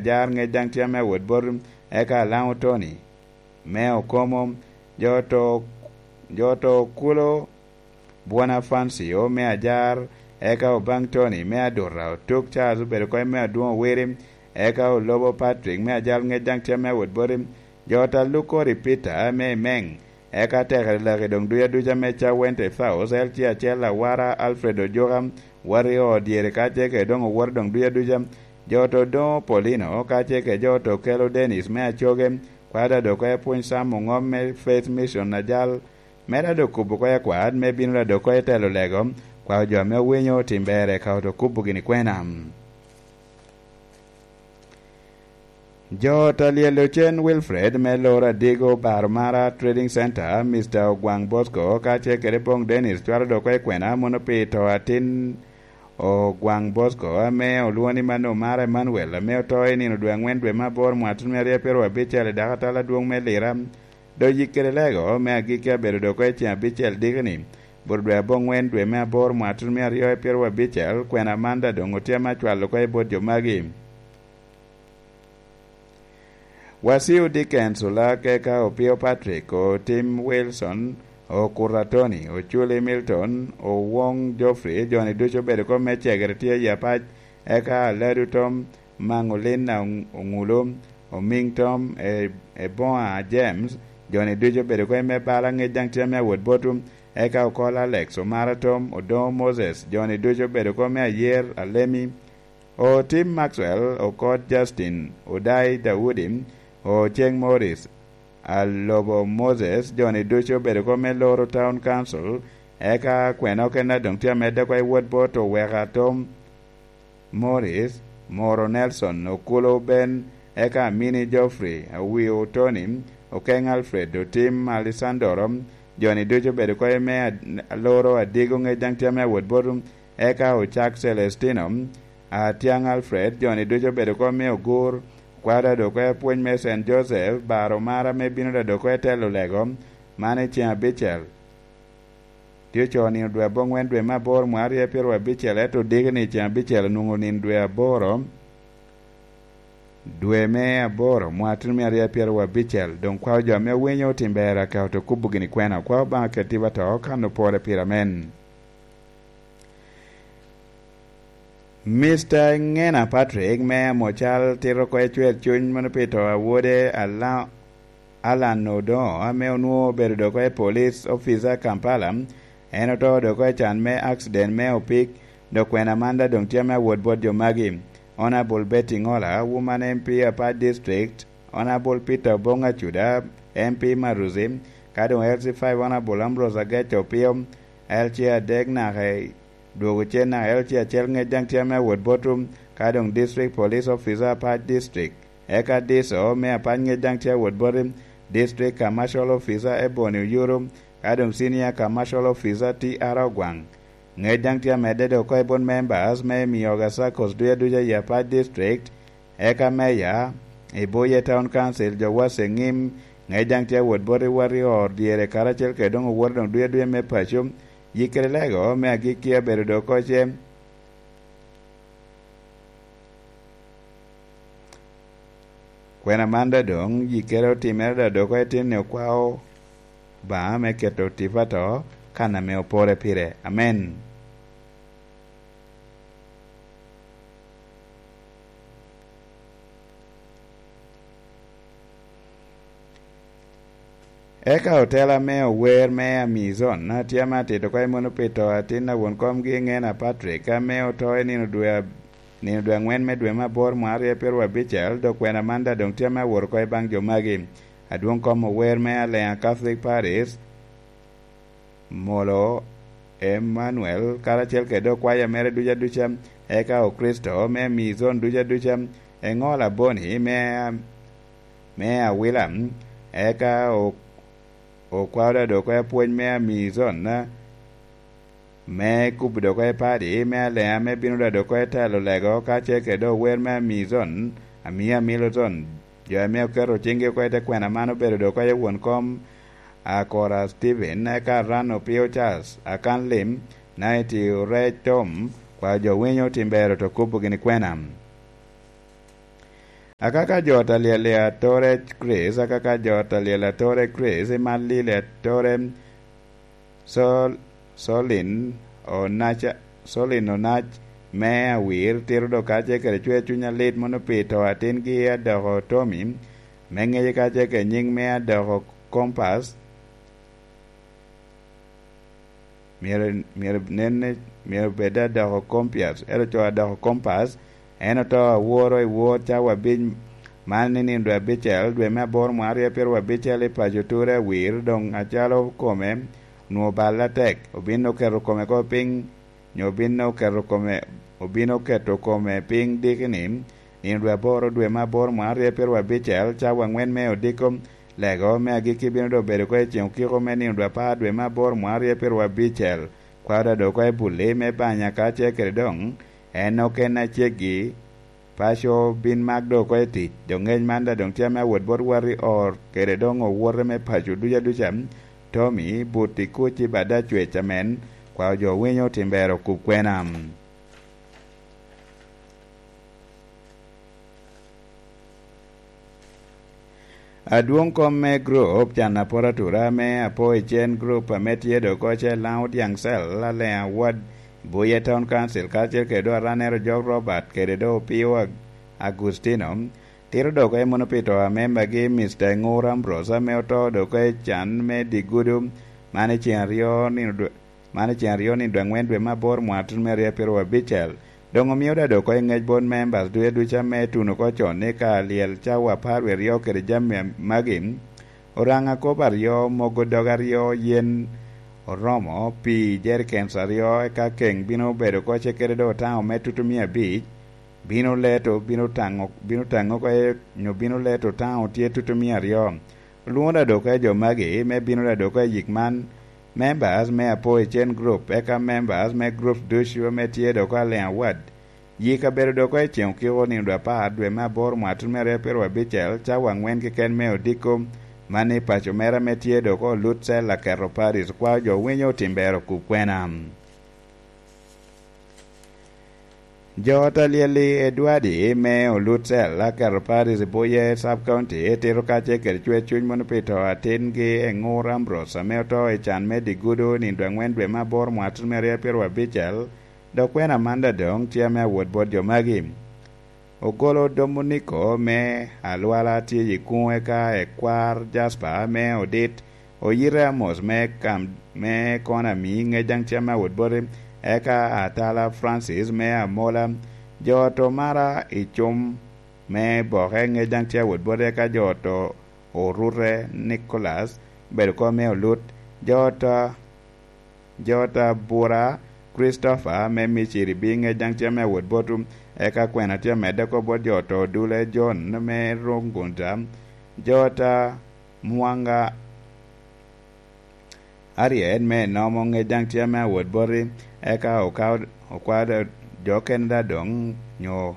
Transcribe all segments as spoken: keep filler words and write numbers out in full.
Ajar, ŋec daŋ tye ame awot bot, eka Alaŋo Tony me Okomo, jo to, jo to kulo Bwona Fancio me Ajar, eka Obaŋ Tony me Aduta, Otuk Charles obedo kony me Adwoŋ Owiri, eka Olobo Patrick me Ajal, ŋec daŋ tye ame awot boti, jo ta Lukori Peter me Emeŋ, eka Tekere Laki doŋ duca duca me Cawente South, L C acel Awara Alfred Ojuka, Wario Odyere, ka ce kede doŋ owoto doŋ duca duca, jo to Doŋo Paulino, ka ce kede jo to Kelo Dennis me Acoge, kwada doŋ ko epwony Sam Oŋom me Faith Mission Ajal, me dado kubo ko ekwat, me bino dado ko etelo lego, kwao jo ame owinyo tim ber eka oto kubo gini kwena. Jo ta lyel ocen Wilfred me Loro Adigo, Baro Mara Trading Center, Mister Ogwaŋ Bosco, ka ce kede Boŋ Dennis, cwalo dok oko i kwena, mono pi to atin Ogwaŋ Bosco, ame olwoŋo ni Mano Mara Emmanuel, ame oto i nino dwe aŋwen dwe me aboro mwaka tutumia aryo pyeraryo abicel i dako atal adwoŋ me Lira. Dok yik kede lego me agikki abedo dok oko i ceŋ abicel dikini, bot dwe aboŋwen dwe me aboro mwaka tutumia aryo pyeraryo abicel, kwena man daŋ doŋ otye ame acwalo oko i bot jo magi. Wasiu Dickens Olak, eka Opio Patrick, Otim Wilson, Okuta Tony, Oculi Milton, Owoŋ Geoffrey, jo-ni ducu obedo kop me cegere tye i apac, eka Aladu Tom, Maŋolina Oŋulu, Omiŋ Tom, E-, Eboŋa James, jo-ni ducu obedo kop me bala, ŋec daŋ tye ame awot botu, eka Okol Alex, Omara Tom, Odoŋo Moses, jo-ni ducu obedo kop me Ayer, Alemi, Otim Maxwell, Okot Justin, Odai Daudi, Oceng Morris, Alobo Moses, jo-ni ducu obedo kop me Loro Town Council, eka kwena okene a doŋ tye amedde oko i wot bot Oweka Tom Morris, Moro Nelson, Okulo Ben, eka Amini Geoffrey, Awiu Tony, Okeng Alfred, Otim Alessandro, jo-ni ducu obedo oko i me ad-, Loro Adigo, ŋec daŋ tye ame awot bot, eka Ocak Celestino, Atyaŋ Alfred, jo-ni ducu obedo oko me Ogur, kwaro dado oko i apwony me Saint Joseph, Baro Mara me bino dado oko i telo lego, man i ceŋ abicel. Tye ocoo nino dwe aboŋwen dwe me aboro mwaka aryo pyeraryo abicel, ento odiki ni ceŋ abicel onwoŋo nino dwe aboro, dwe me aboro mwaka tutumia aryo pyeraryo abicel. Doŋ kwao jo ame owinyo otim ber aka oto kubo gini kwena, kwao Obaŋa keti wa to kan opore pire. Amen. Mister Ngena Patrick me Amocal tito oko i cwer cuny mono pi to a wode Ala-, Alan Odoŋo, ame onwoŋo obedo dok oko i police officer Kampala. En oto dok oko i can me accident me opik, dok kwena man daŋ doŋ tye ame awot bot jo magi: Honorable Betty Ngola, Woman M P Apac District, Honorable Peter Obong Acuda, M P Maruzi, ka doŋ L C five Honorable Ambrose Agech Opio, L C adek naka i dwogo cen naka L C acel ŋec daŋ tye ame awot botu, ka doŋ District Police Officer Apac District, eka D S O me Apac ŋec daŋ tye awot boti, District Commercial Officer Ebony Oyuru, ka doŋ Senior Commercial Officer T R Ogwaŋ. Ŋec daŋ tye amedde dok oko i bot members me Mioga Circles duca duca i Apac District, eka Meya, Ibuye Town Council, jo wac eŋim, ŋec daŋ tye awot bot i wot i or dyere karacel kede doŋ owoto doŋ duca duca me paco, yik kede lego me agikki abedo dok oko ce. Kwena man daŋ doŋ yikkere otimere daŋ dok oko i tin ni okwao Obaŋa me keto tipo ato kan ame opore pire. Amen. Eka otela me ower me Amizon, a tye ame atito oko i mono pi to atin a won komgi Ngena Patrick, ame oto i nino dwe ab-, nino dwe aŋwen me dwe me aboro mwaka aryo pyeraryo abicel, dok kwena man daŋ doŋ tye ame awot oko i baŋ jo magi. Adwoŋ kom ower me Aleŋa Catholic Parish, Molo Emmanuel, karacel kede okwaya mere duca duca, eka Okricito me Amizon duca duca, eŋo Laboni me, me Awila, eka o-, okwao daŋ dok oko i apwony me Amizon, me kubo dok oko i padi me Aleŋa, me bino daŋ dok oko i telo lego, ka ce kede ower me Amizon, Amia Milton, jo ame oketo ciŋgi oko i te kwena man obedo dok oko i won kom, Akora Steven, eka Ran Opio Charles, Akan Lim, Naiti Orec Tom, kwao jo winyo tim ber oto kubo gini kwena. Akaka jo ta lyel i atore Kricito, akaka jo ta lyel atore Kricito, i Malili atore Sol-, Solin Onaca, Solin Onac me Awir, tito dok kacel kede cwer cuny alit mono pi to atingi Adoko Tommy, me ŋece kacel kede nyiŋ me Adoko Kompas. Myero, myero nen ni, myero bed Adoko Kompias, ento co Adoko Kompas, en oto aworo i wor cawa abic, man ni nino dwe abicel, dwe me aboro mwaka aryo pyeraryo abicel i paco Ture Awir, doŋ acalo kome onwoŋo balle atek, obin oketo kome ko piny, nyo obin oketo kome, obin oketo kome piny diki ni, nino dwe aboro, dwe me aboro mwaka aryo pyeraryo abicel, cawa aŋwen me odiko lego me agikki bino doŋ bedo oko i ceŋ okiko me nino dwe apar, dwe me aboro mwaka aryo pyeraryo abicel. Kwaro doŋ oko i bulli me banya kacel kede doŋ en oken aceggi. Paco bin mak doŋ oko i tic, doŋ ŋec man daŋ doŋ tye ame awot bot wati or kede doŋ owote me paco duca duca. Tommy, buti kuc i bada cwec amen, kwao jo winyo timbero kub kwena. Adwoŋ kom me gurup can aporo atura ame apo i cen gurup ame tye doŋ oko cel Laŋo Dyaŋ Cel, Aleŋ Awad, Buye Town Council, kacel kede doŋ aranero Jok Robert kede doŋ Opio Ag-, Agustino, tito doŋ oko i muno pi to a membagi, Mister Ŋur Ambrose, ame oto doŋ oko i can me digudu, man i ceŋ aryo nino dwe, man i ceŋ aryo nino dwe aŋwen dwe me aboro mwaka tutumia aryo pyeraryo abicel. Doŋ omio daŋ doŋ oko i ŋec bot members ducu ducu ame tuno oko con ni ka lyel cawa apar wie aryo kede jami magi, oraŋ akobo aryo, mogo dog aryo, yen oromo, pii jerikens aryo, eka keŋ bino bedo oko ce kede doŋ otaŋo me tutumia abic, bino leto, bino taŋo, bino taŋo oko, nyo bino leto otaŋo tye tutumia aryo. Olwoŋo daŋ doŋ oko i jo magi me bino daŋ doŋ oko i yik man, members me apo i cen group, eka members me groups ducu ame tye doŋ oko Aleŋ Awad. Yik abedo doŋ oko i ceŋ okiko nino dwe apar dwe me aboro mwaka tutumia aryo pyeraryo abicel, cawa aŋwen keken me odiko, man i paco mere ame tye doŋ oko Olut Cel Aketo Paris, kwao jo winyo otimbero kub kwena. Jo ta lyel i Edward me Olut Cel Aketo Paris i Buye Sub County tito kacel kede cwer cuny mono pi to atingi Eŋur Ambrose ame oto i can me digudu nino dwe aŋwen dwe me aboro mwaka tutumia aryo pyeraryo abicel, dok kwena man daŋ doŋ tye ame awot bot jo magi. Ogolo Dominiko me Alwala tye i kuŋ, eka Ekwar Jasper me Odit, Oyite Amos me Kam-, me Konami ŋec daŋ tye ame awot boti, eka Atala Francis me Amola, jo Tomara i Cum me Boke ŋec daŋ tye awot boti, eka jo to Orute Nicholas obedo kom me Olut, jo ta, jo ta Bura Christopher me Miciri bi ŋec daŋ tye ame awot botu, eka kwena tye amedde oko bot jo to Dule John me Rungunta, jo ta Mwanga Ariel me Nomo ŋec daŋ tye ame awot boti, eka okawo, okwao jo okene daŋ doŋ nyo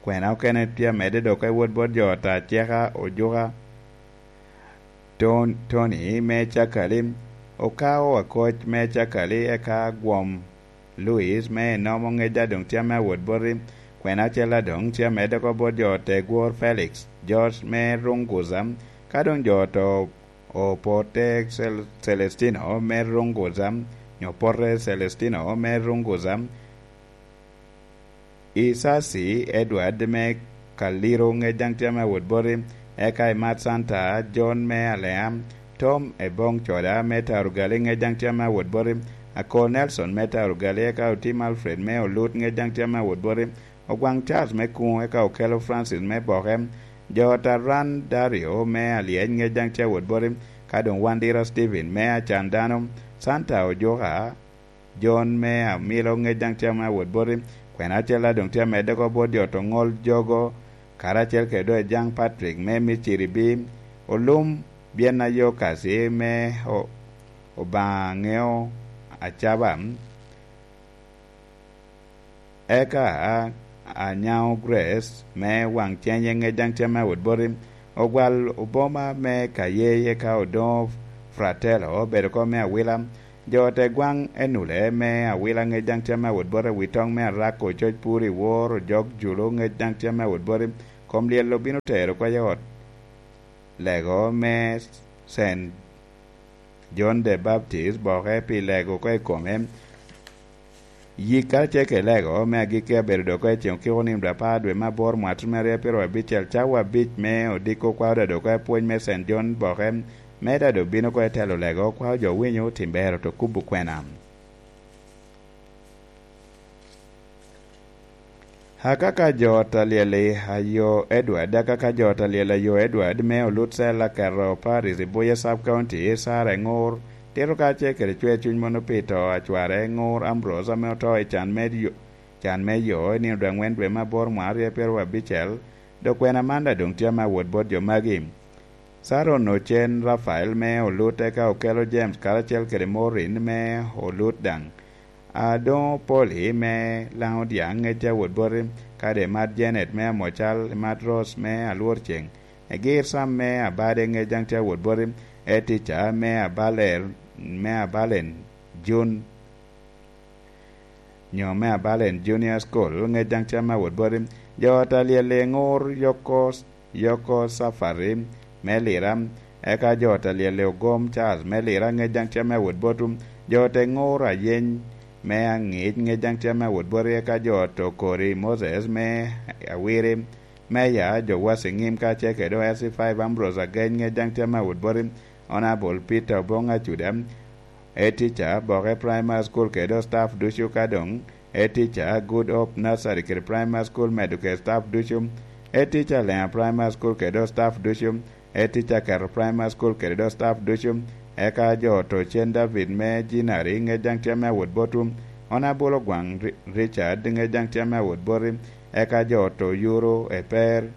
kwena okene tye amedde doŋ oko i wot bot jo ta Ceka Ojuka, Ton-, Tony me Cakali, okawo Akoc me Cakali, eka Gwom Louis me Nomo ŋec daŋ doŋ tye ame awot boti, kwena acel daŋ doŋ tye amedde oko bot jo Tegwor Felix, George me Runguza, ka doŋ jo to Opote Cel-, Celestino me Runguza, nyo Pote Celestino me Runguza, Isasi Edward me Kaliro ŋec daŋ tye ame awot boti, eka Imat Santa John me Alea, Tom Ebong Coda me Tarugali ŋec daŋ tye ame awot boti, Akol Nelson me Tarugali, eka Otim Alfred me Olut ŋec daŋ tye ame awot boti, Ogwaŋ Charles me Kuŋo, eka Okelo Francis me Boke, jo Taran Dario me Alyec ŋec daŋ tye awot boti, ka doŋ Wandira Stephen me Acan Dano, Santa Ojuka, John me Amilo ŋec daŋ tye ame awot boti, kwena acel daŋ doŋ tye amedde oko bot jo to Ŋol Jogo, karacel kede doŋ Ejaŋ Patrick me Miciri bi Olum, Byen Ayo Kasi me O-, Obaŋa Ŋeo Acaba, eka Anyaŋo Grace me Waŋ Cenye ŋec daŋ tye ame awot boti, Ogwal Oboma me Kayeye, eka Odoŋo Fratello obedo oko me Awila, jo te Gwaŋ Enule me Awila ŋec daŋ tye ame awot boti, Witoŋ me Arako, Coc Puri, Wor Ojok Julu ŋec daŋ tye ame awot boti, Kom lyel obino tero oko i ot lego me Saint John the Baptist boke pi lego oko i kome. Yik karacel kede lego me agikki abedo dok oko i ceŋ okiko nino dwe apar dwe me aboro mwaka tutumia aryo pyeraryo abicel, cawa abic me odiko kwao dado oko i pwony me Saint John boke, me dado bino oko i telo lego kwao jo winyo tim bero to kubo kwena. Akaka jo ot alyel ayo Edward, akaka jo ot alyel ayo Edward me olut cel aketo Paris i Buye Sub County, Sara Eŋur, tito kacel kede cwer cuny mono pi to a cware Eŋur Ambrose ame oto i can me yo, can me yo i nino dwe angwen dwe me aboro mwaka aryo pyeraryo abicel, dok kwena man daŋ doŋ tye ame awot bot jo magi. Saron Ocen Rafael me olut, eka Okelo James karacel kede Maureen me olut daŋ. A doŋ Opoli me Laŋo Dyaŋ ŋec a wot boti, kadi imat Janet me Amocal, imat Rose me Alwor Ceŋ, egir Sam me Abade ŋec daŋ tye a wot boti, etica me Abalen, me Abalen Jun, nyo me Abalen Junior School ŋec daŋ tye a wot boti, jo ot alyel i Ŋur Yoko, Yoko Safari me Lira, eka jo ot alyel i Ogom Charles me Lira ŋec daŋ tye a wot boti, jo ot i Ŋur Ayeny me Aŋic ŋec daŋ tye a wot boti, eka jo ot Okori Moses me Awiri, Meya Jowasi Ŋim kacel kede O S C five Ambrose Ageny ŋec daŋ tye a wot boti, Honorable Peter Obong Acuda, head teacher Boke Primary School kede staff ducu, ka doŋ head teacher Good Hope Nursery kede Primary School medo kede staff ducu, head teacher Lenga Primary School kede staff ducu, head teacher Keto Primary School kede do staff ducu, eka jo ot Ocen David me Jinari ŋec daŋ tye a wot boti, Honorable Ogwaŋ Ri-, Richard ŋec daŋ tye a wot boti, eka jo ot Oyuro Eper,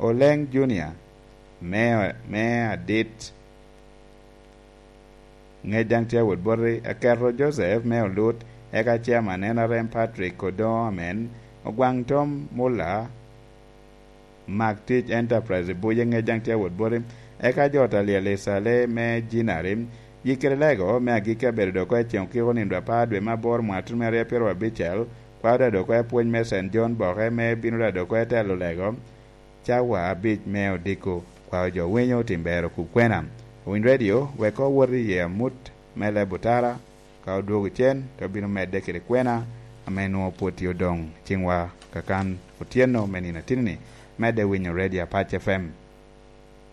Oleŋ Junior me, me Adit ŋec daŋ tye a wot boti, Aketo Joseph me Olut, eka Chairman N R M Patrick Odoŋo Amen, Ogwaŋ Tom Mulla, Mak Tic Enterprise i Buye ŋec daŋ tye a wot boti, eka jo ot alyel i Cale me Jinari, yik kede lego me agikki abedo dok oko i ceŋ okiko nino dwe apar dwe me aboro mwaka tutumia aryo pyeraryo abicel, kwao dado oko i pwony me Saint John Boke me bino dado oko i telo lego, cawa abic me odiko, kwao jo winyo tim bero kub kwena. Owiny Radio wek owot i yee amut me leb otara, ka odwogo cen, te obino medde kede kwena ame nwoŋo pwod tye odoŋ ciŋwa kakan otyeno me nino atini-ni, medde winyo Radio Apac F M.